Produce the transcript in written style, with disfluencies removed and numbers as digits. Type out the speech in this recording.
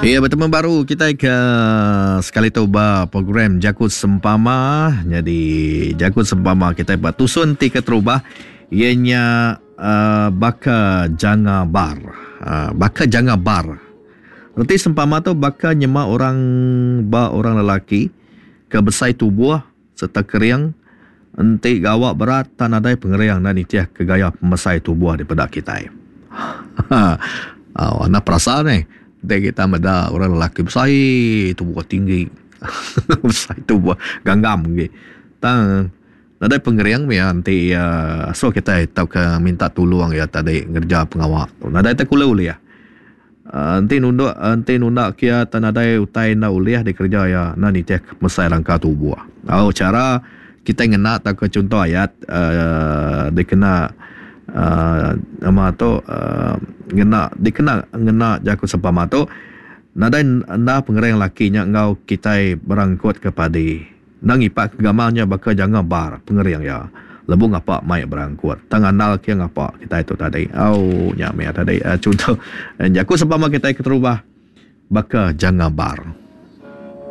Iya betemu baru kitai ke sekali tu ba program Jaku Sempama. Nyadi Jaku Sempama kitai ba tusun ti keterubah iya nya uh, baka janga bar. Uh, baka janga bar. Reti sempama tu baka nyema orang ba orang lelaki ke besai tubuh sereta kering enti gawa berat tak nadai pengering enda nitih ke gaya pemesai tubuh dipeda kitai. Au anak perasa neh enti kita meda orang lelaki besai tubuh tinggi besai tubuh ganggam agi tang Nadai pengering mih iya enti iya asuh kitai tauka minta tulung iya tadi ngereja pengawa tu. Nadai tai kulu ulih. Uhh enti nunduk enti nunda ke iya tang nadai utai enda ulih dikereja iya enda nitih ke pemesai rangka tubuh. Au chara kitai ngena tauka chunto ayat uhh dikena uhh nama tu uhh ngena dikena ngena jaku sempama tu nadai enda pengering laki nya enggau kitai berangkut ke padi. Enda ngipak ke gamal nya baka janga bar pengering iya. Lebuh ngapa mai berangkut. Tang andal ke ngapa kitai tu tadi. Au nya meh tadi chunto jaku sempama kitai keterubah baka janga bar.